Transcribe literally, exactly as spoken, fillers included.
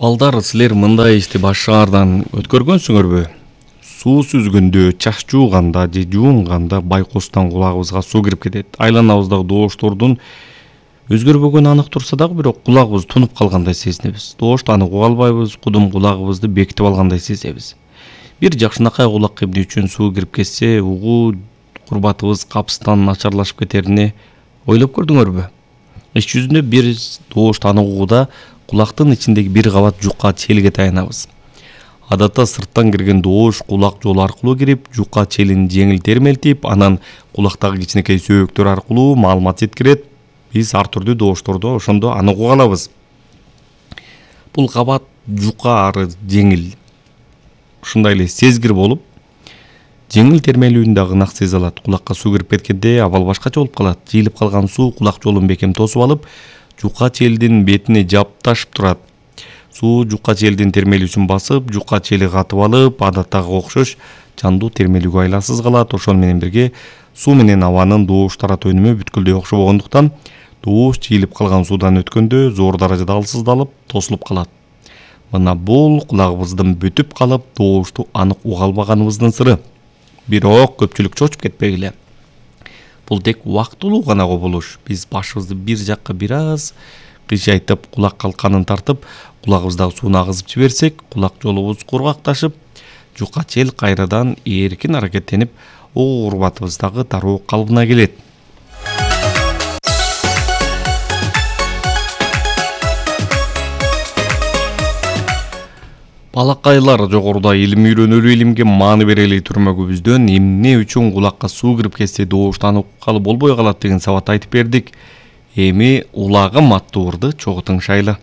Балдар, силер мындай ишти башкаардан өткөргөнсүңөрбү? Суу сүзгөндө, чаш жууганда же жуунганда байкостан кулагыбызга суу кирип кетет. Айланабыздагы дооштордун өзгөрбөгөнү анык турса дагы бирок кулагыбыз тунуп калгандай сезинебиз. Доошту анык уга албайбыз, кудум кулагыбызды бекитип алгандай сезебиз. Бир жакшынакай кулак эмне үчүн суу кирип кетсе, угуу курбатыбыз капыстан начарлашып кетерине ойлоп көрдүңөрбү? Иш жүзүндө бир доошту анык угууда кулактын ичиндеги бир кабат жука челге таянабыз. Адатта сырттан кирген доош кулак жолу аркылуу кирип, жука челин жеңил термелтип, анан кулактагы кичинекей сөөктөр аркылуу маалымат жеткирет. Биз ар түрдүү доошторду ошондо анык уга алабыз. Бул кабат жука ары жеңил, ушундай эле сезгир болуп, жеңил термелүүнү дагы ынак сезе алат. Кулакка суу кирип кеткенде абал башкача болуп калат. Жыйылып калган суу кулак жолун бекем тосуп алып, жука челдин бетине жапташып турат. Суу жука челдин термелүүсүн басып, жука чели катып алып, адаттагы окшош жандуу термелүүгө айласыз калат. Ошону менен бирге суу менен абанын доош таратуу өнүмү бүткүлдөй окшобогондуктан доош жыйылып калган суудан өткөндө зор даражада алсыздалып, тосулуп калат. Мына бул кулагыбыздын бүтүп калып, доошту анык уга албаганыбыздын сыры. Бирок көпчүлүк чочуп кетпегиле. Бул тек убактылуу гана кубулуш. Биз башыбызды бир жакка бир аз кыйшайтып, кулак калканын тартып, кулагыбыздагы сууну агызып жиберсек, кулак жолубуз кургакташып, жука чел кайрадан эркин аракеттенип, угуу курбатыбыздагы тароо калыбына келет. Балакайлар, жогоруда илим үйрөнөлүү, илимге мааны берели түрмөгүбүздөн эмне үчүн кулакка суу кирип кетсе доошту анык угалы болбой калат деген сабат айтып бердик. Эми улагым аттуу ырды чогуу тыңшайлы.